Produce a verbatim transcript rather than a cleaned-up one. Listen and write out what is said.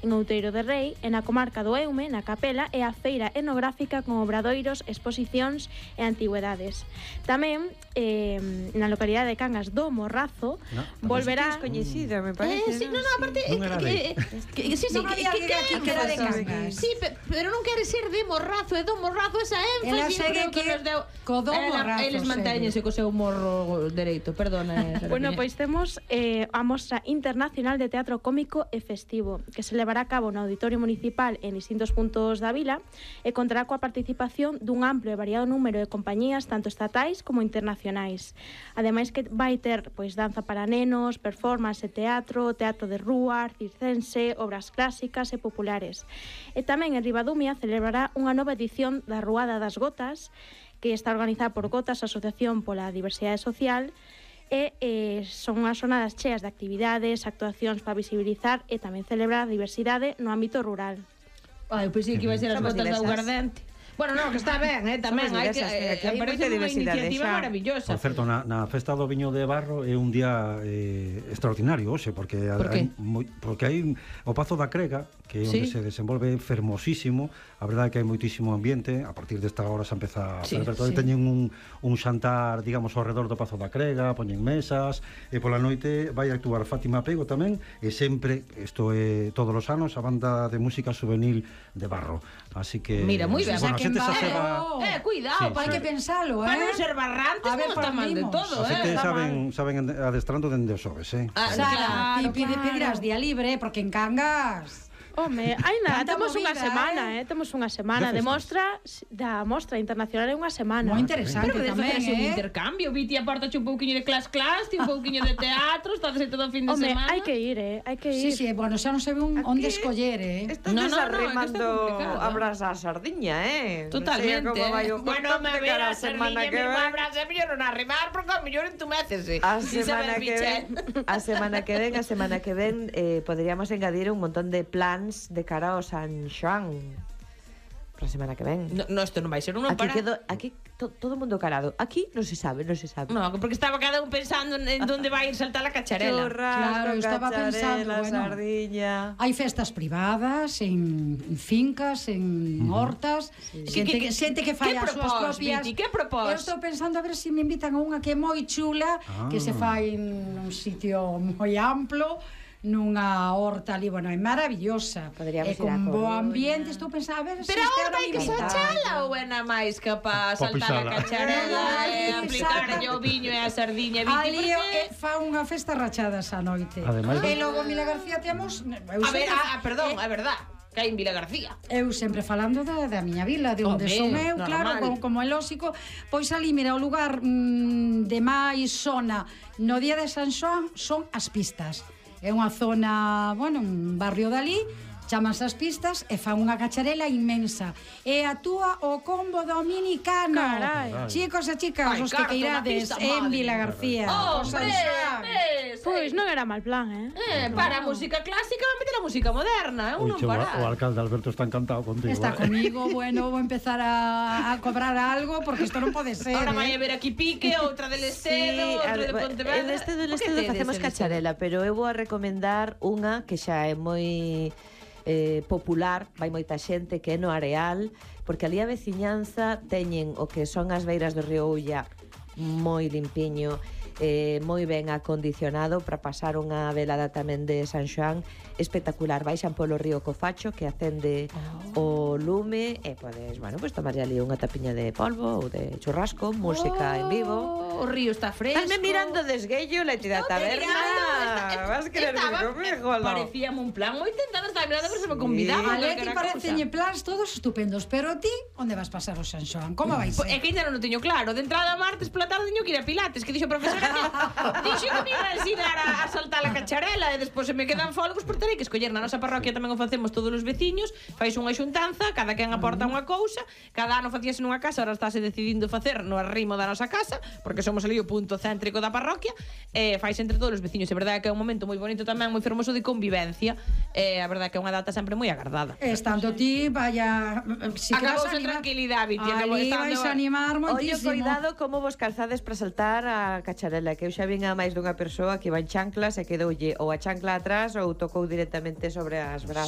en Outeiro de Rei, e na comarca do Eume, na Capela, e a feira etnográfica con obradoiros, exposicións e antigüedades. Tamén, eh, na localidade de Cangas do Morrazo, no, volverá... É coñecida, me parece. Eh, sí, no, no, aparte... Non era que, que, que, sí, sí, non que, había que, alguén aquí que era de Cangas. Sí, pe, pero non quere ser de Morrazo, é do Morrazo, esa Ela énfasis, segue creo que que nos deu... co do Morrazo, Eles mantéñense co seu morro dereito, perdona. Bueno, pois temos eh, a Mostra Internacional de Teatro Cómico e Festivo, que se levará a cabo no Auditorio Municipal en distintos puntos da vila e contará coa participación dun amplo e variado número de compañías tanto estatais como internacionais. Ademais que vai ter pois danza para nenos, performance e teatro, teatro de rúa, circense, obras clásicas e populares. E tamén en Ribadumia celebrará unha nova edición da Ruada das Gotas, que está organizada por Gotas, Asociación pola Diversidade Social, e eh, son unhas jornadas cheas de actividades, actuacións para visibilizar e tamén celebrar a diversidade no ámbito rural. Ai, eu pensei que iba a ser as Somos botas de diversas. aguardente. Bueno, no, que está ben, eh, tamén Somos hai que diversas, eh, aquí hai parece moita unha diversidade iniciativa xa. maravillosa. Por certo, na, na festa do Viño de Barro é un día eh, extraordinario, hoxe, porque Por hai, qué? moi, porque hai o Pazo da Crega, que é onde Sí. se desenvolve fermosísimo. A verdade é que hai moitísimo ambiente. A partir desta hora se empeza a Sí, celebrar todo. sí. Teñen un, un xantar, digamos, ao redor do Pazo da Crega, poñen mesas, e pola noite vai a actuar Fátima Pego tamén, e sempre, isto é todos os anos, a banda de música juvenil de Barro. Así que... Mira, moi ben. Bueno, a O sea, que xente en xa se Barro- va... Eh, cuidado, Sí, para Hai sí. que pensalo, eh? Para non ser barrantes, A ver, non está mal de partimos. todo, A eh. xente está saben, saben adestrando dende os xoves, eh? Ah, Sara, claro, ti pide, claro. pedirás día libre, porque en Cangas... Home, aínda Tanta temos unha movida, semana, eh? eh? Temos unha semana De de festas. mostra da Mostra Internacional é unha semana. Moi interesante Pero de tamén, facerse un eh? intercambio, Viti aporta un pouquiño de clas-clas, ti un pouquiño de teatro, estás todo o fin de Home, semana. hai que ir, eh? Hai que Sí, ir. sí, bueno, xa non se ve un onde escoller, eh? Estás No, no, no, desarrimando é que está complicado. a brasa a sardiña, eh? Totalmente. Non sei como vai o Bueno, me cortante ver cara a a semana semana que que ven. vai. Abraza mellor non arrimar, porque ao mellor entumécese. A Sin semana saber que pichel. ven, a semana que ven, a semana que ven eh, poderíamos engadir un montón de plans de cara ao San Xoán. Para a semana que ven. No, no, isto non vai ser un non Aquí para. quedó, aquí to, todo o mundo calado. Aquí non se sabe, non se sabe. No, porque estaba cada un pensando en, en donde vai ir saltar a cacharela. Churrasco, Claro, eu estaba pensando, cacharela, bueno. sardiña. Hai festas privadas, en, en fincas, en hortas, xente que, xente que fai que as súas propós, propias. Viti, que propós? Eu estou pensando a ver se me invitan a unha que é moi chula, Ah. que se fai nun sitio moi amplo, nunha horta ali, bueno, é maravillosa. Podríamos e ir con a bo Coruña. ambiente, estou pensando a ver se Pero este ahora ano hai me que invitan. sachala ou é na máis que pa Pa saltar a pisala. cacharela e No, no, aplicar saca- o viño e a sardiña, Viti, Ali porque... é, fa unha festa rachada esa noite. Ademais- E logo Mila García temos... eu A ver, sempre- ah, perdón, é verdad, que hai en Vila García. Eu sempre falando da, da miña vila, de onde Home, son eu, normal. claro, como, como é lóxico. Pois ali, mira, o lugar mm, de máis zona no día de San Xoán son as pistas. É unha zona, bueno, un barrio dali, chamas as pistas e fan unha cacharela inmensa. E actúa o combo dominicano. Carai. Chicos e chicas, Ai, os que carta, queirades unha pista, en madre. Vila García. Oh, o San hombre, Xoán. ves, Pois non era mal plan, eh? Eh, para a música clásica van meter a música moderna, eu Ui, non che, o, para. o alcalde Alberto está encantado contigo. Está eh. comigo, bueno, vou empezar a, a cobrar algo porque isto non pode ser. Ahora eh. vai a ver aquí Pique, outra del Estedo, outra de Pontevedra. en este del Por que Estedo tedes facemos el cacharela, pero eu vou a recomendar unha que xa é moi eh, popular, vai moita xente, que é no Areal, porque ali a veciñanza teñen o que son as beiras do río Ulla moi limpiño, eh, moi ben acondicionado para pasar unha velada tamén de San Xoán espectacular. Baixan polo río Cofacho, que acende oh. o lume, e podes, bueno, pues tomarlle ali unha tapiña de polvo ou de churrasco, música en vivo. O río está fresco. Estás me mirando desguello la entidad No te taberna. mirando, está- Vas a querer estaba- ir conmigo, ¿no? Parecíame un plan moi tentado, estaba mirando pero se me convidaba. A Leti calquera parecenlle cousa. plans todos estupendos, pero ti, onde vas pasar o San Xoán? Como vai Pois é ser? que ainda non o teño claro. De entrada martes pola tarde teño que ir a Pilates, que dixo a profesora que dixo que me iba a ensinar a, a saltar a cacharela e despois se me quedan folgos, por terei que escoller. Na nosa parroquia tamén o facemos todos os veciños, fais unha xuntanza, cada quen aporta unha cousa, cada ano facíase nunha casa, ahora estáse decidindo facer no arrimo da nosa casa, porque somos ali o punto céntrico da parroquia, e fais entre todos os veciños. É verdade que é un momento moi bonito tamén, moi fermoso de convivencia, e a verdade que é unha data sempre moi agardada. Estando ti, vaya... Si que vas Acabouse a animar... tranquilidade, Viti, acabou Ali estando- vais a animar Oye, moitísimo. cuidado como vos calzades para saltar a cacharela, que eu xa vin a máis dunha persoa que iba en chanclas e quedoulle ou a chancla atrás ou tocou directamente sobre as brazas.